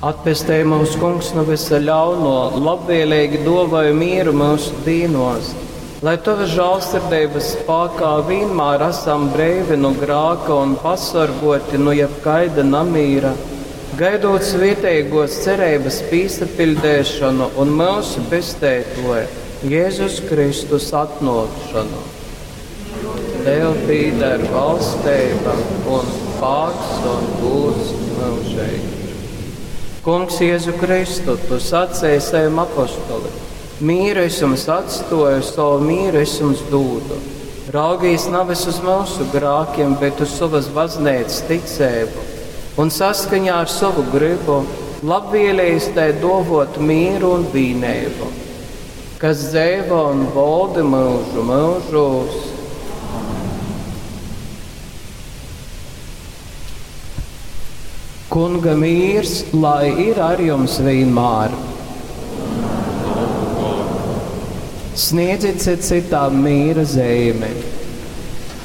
Atpestej mūs, Kungs, nu vysa ļauno, labvēlīgi duovoj mieru mūsu dīnos, lai Tavas žālsirdeibas spākā vienmēr esam breivi nu grāka un pasorgoti nu jebkaida namīra, gaidot svietēgos cerības pīsapiļdēšanu un mūsu pestētoja Jēzus Kristus atnākšanu. Tev pīder valstība un spāks un gūds mūžīgi. Kungs Jēzu Kristu, tu sacēji saviem apostolim, mīru es jums atstoju, savu mīru es jums dūdu. Raugīs nevis uz mūsu grākiem, bet uz savas baznīcas ticību un saskaņā ar savu gribu labvēlējis tai dovot mīru un vīnību, kas dzēvo un valda mūžu mūžos. Kunga mīrs, lai ir ar jums vienmēr. Sniedziet citām mīra zīmi.